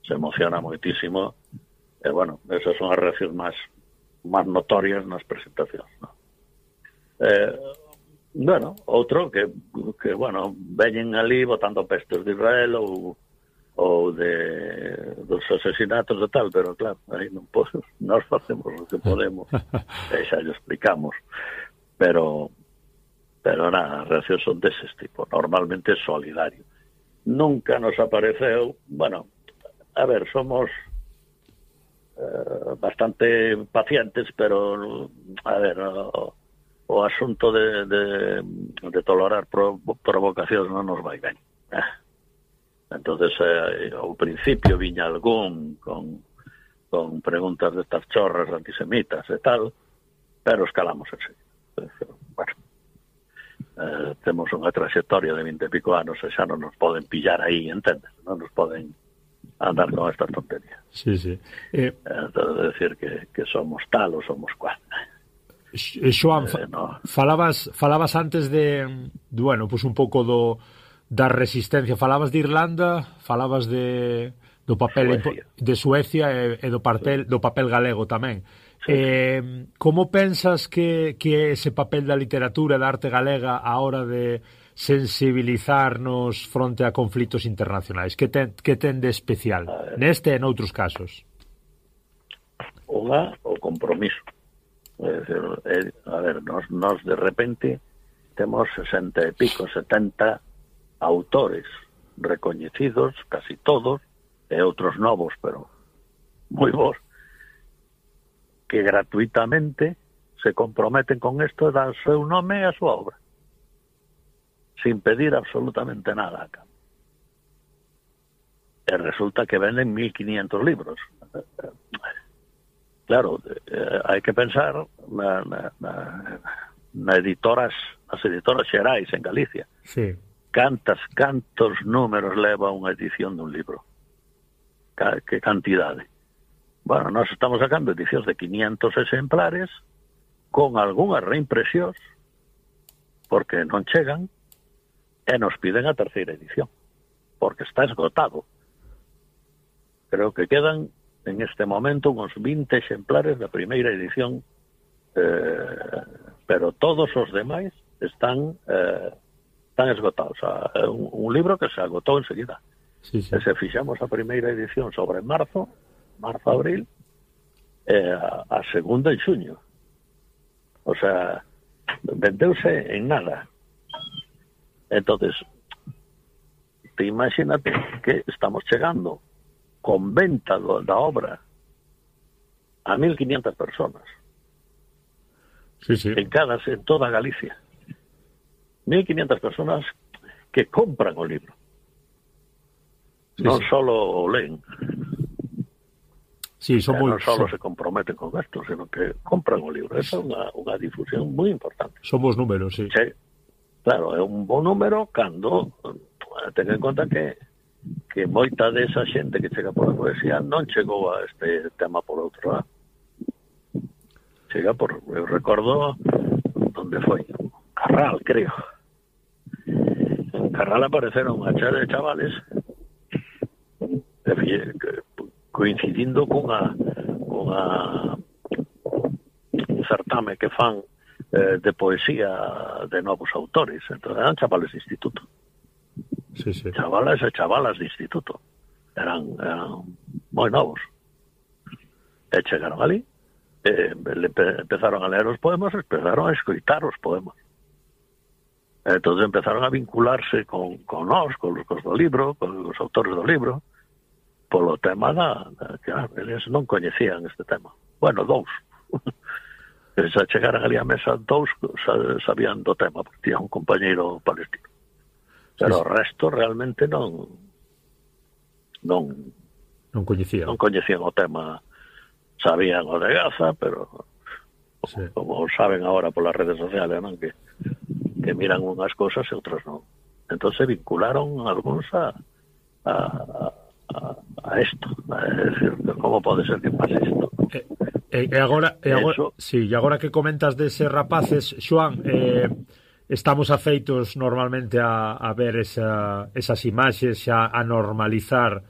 se emociona moitísimo, e, bueno, esas son as reaccións máis notorias nas presentacións, ¿no? Bueno, outro que bueno, veñen ali botando pestes de Israel ou dos asesinatos e tal, pero claro, aí non podemos, nós facemos o que podemos e xa lle explicamos, pero nada, as reaccións son deses tipo, normalmente solidario. Nunca nos apareceu, bueno, a ver, somos bastante pacientes, pero a ver, o asunto de tolerar provocacións non nos vai ben. Entonces, ao principio viña algún con preguntas destas chorras antisemitas e tal, pero escalamos enseguida. Bueno, temos unha trayectoria de 20 e pico anos e xa non nos poden pillar aí, entendes? Non nos poden andar con estas tonterías. Sí. Entonces, decir que somos tal ou somos cual. Xoan, no. falabas antes de bueno, pues un pouco da resistencia, falabas de Irlanda, falabas do papel de Suecia e do papel galego tamén. Sí. Como pensas que ese papel da literatura e da arte galega a hora de sensibilizarnos fronte a conflitos internacionais? Que ten de especial neste e noutros casos? O compromiso. A ver, nos de repente temos 60 e pico, 70 autores recoñecidos, casi todos, e outros novos, pero moi bons, que gratuitamente se comprometen con isto e dan seu nome e a súa obra, sin pedir absolutamente nada acá. E resulta que venden 1.500 libros. Claro, hai que pensar nas editoras xerais en Galicia. Sí. Cantos números leva unha edición dun libro? Que cantidade? Bueno, nós estamos sacando edicións de 500 exemplares con algunhas reimpresións porque non chegan e nos piden a terceira edición porque está esgotado. Creo que quedan en este momento uns 20 exemplares da primeira edición, pero todos os demais están esgotados. O sea, un libro que se agotou enseguida. Sí. E se fixamos a primeira edición sobre marzo, abril, a segunda en xuño. O sea, vendeuse en nada. Entonces, te imagínate que estamos chegando con venta da obra a 1.500 personas. Sí. En toda Galicia. 1.500 personas que compran o libro. Non solo o leen. Sí, non solo se comprometen con esto, sino que compran o libro. Esa é unha difusión moi importante. Somos números, sí. Claro, é un bon número cando ten en conta que moita desa xente que chega por a poesía non chegou a este tema por outro lado. Chega eu recordo onde foi, Carral, creo. En Carral apareceron unha chea de chavales coincidindo cunha certame que fan de poesía de novos autores. Entón, eran chavales de instituto. Sí. Chavalas e chavalas de instituto. Eran moi novos. E chegaron ali, empezaron a leer os poemas, empezaron a escoitar os poemas. Entón empezaron a vincularse con nós, con os do libro, con os autores do libro, polo tema que eles non coñecían este tema. Bueno, dous. Se chegaran ali a mesa, dous sabían do tema, porque tiña un compañeiro palestino. Pero o resto realmente non coñecían. Non coñecían o tema. Sabían o de Gaza, pero como saben agora polas redes sociales, non? Que miran unhas cosas e outras non. Entón se vincularon algúns a isto. É dicir, como pode ser que pase isto? E agora que comentas deses rapaces, Xoan, estamos afeitos normalmente a ver esas imaxes, a normalizar